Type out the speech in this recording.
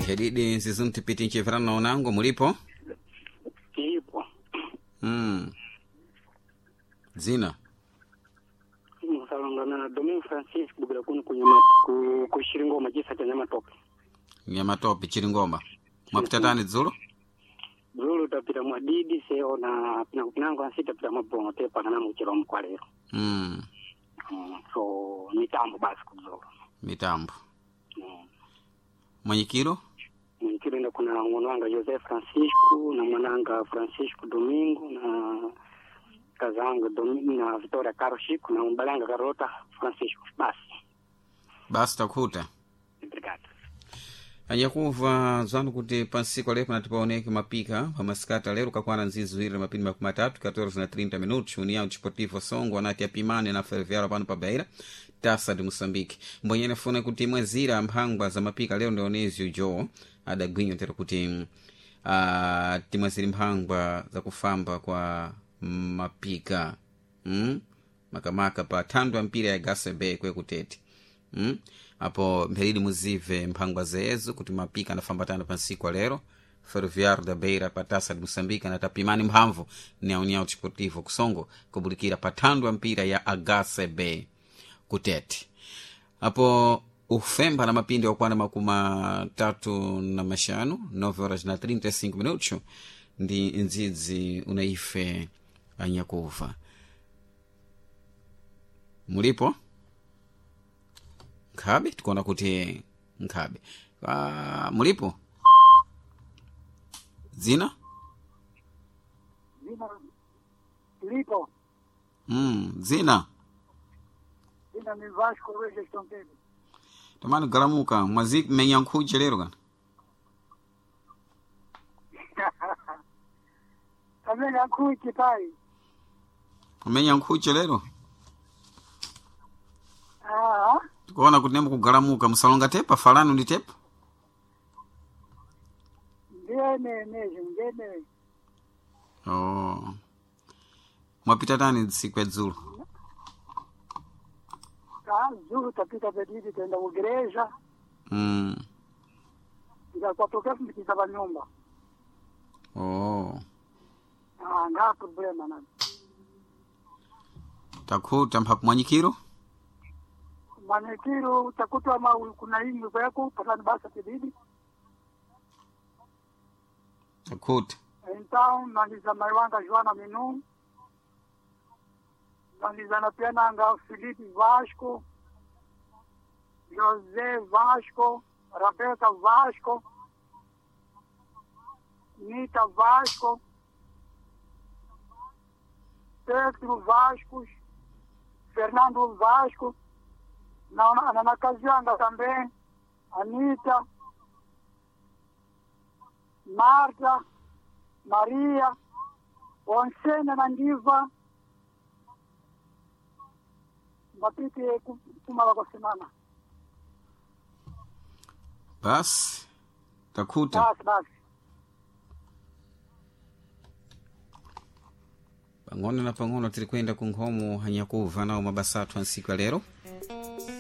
Mhedidi nzizunti ncheverana na unango mulipo? Tilipo. Dzina Musalonga na Domingo Francisco bukira kuno kunyama ku kushiringoma chisa cha Nyamatope. Nyamatope Chiringoma. Mwapita tani dzulo? Dzulo tapita mwadidi seo na pinango ansi tapita mabongo tepa kana muchiro mkwalero. So mitambo basi kudzulo. Mitambo. Mwenyekiro? Mwenyekiro enda kuna mwananga Jose Francisco na mwananga Francisco Domingo na kazangu Domingo na Victoria Caro Chico na mbalanga Carlota Francisco basi. Basi takuta. Obrigado. Anyakuva dzanu kuti pansiku lero panati paoneke mapika pamasikati lero kakwana nzizi ziwiri na mapindi makumi atatu 14 na 30 minutos União Desportivo Songo anati apimane na Ferroviário pano pa Beira Taça de Moçambique. Mbwenyene funa kuti mwezira mphangwa za mapika lero ndi Onésio Joe adagwinyo tero kuti timweziri mphangwa zakufamba kwa mapika Makamaka pa thandu ya mpira ya Gasebe kwekutete. Apo mpheridi muzive mphangwa zeezo kuti mapika anafambatana pa nsiku lero Ferroviário da Beira pa Taça de Moçambique anatapimani mphamvu ni União Desportivo Kusongo kubulikira pa thandu ya mpira ya HCB kutete. Apo ufemba na mapindi wakwana makumi atatu na maxanu 9 horas na 35 minutos ndi ndzidzi unaife anyakuva mulipo nkhabe tikuona kuti nkhabe mulipo dzina Zina lipo. Dzina Zina ni Vasco Regis Tontebe. tamani galamuka mwazi menya nkhuche lero kana Kamenya nkhuchi pai. kumenya nkhuche lero Ah, tikuona kuti nemukugalamuka musalonga tepa falani ndi tepa ndiye mesmo, ndiye. Oh. Mwapita tani tsiku ya dzulo? Tá, dzulo tapita pedidi tenda ku igreja. Ndikakwatoka ndipita pa nyumba. Oh. Ah, nga problema nani. Takhuta mphapu mwanyikiro? Mwanikiro utakutwa ma kuna imwe kweko patani basa pedidi. Takhuta. Então, nandiza mai wanga Joana Minu. Nandiza na pia nanga Felipe Vasco. José Vasco, Rebeca Vasco, Nita Vasco, Pedro Vasco, Fernando Vasco, na Kazianga também, Anita, Marta, Maria, Onsena Nandiva, Mapite kumala kwa semana. Basi takhuta. Basi basi. Pang'ono na pang'ono tiri kuyenda ku nkhomo hanyakuva nawo mabasa athu a ntsiku ya lero.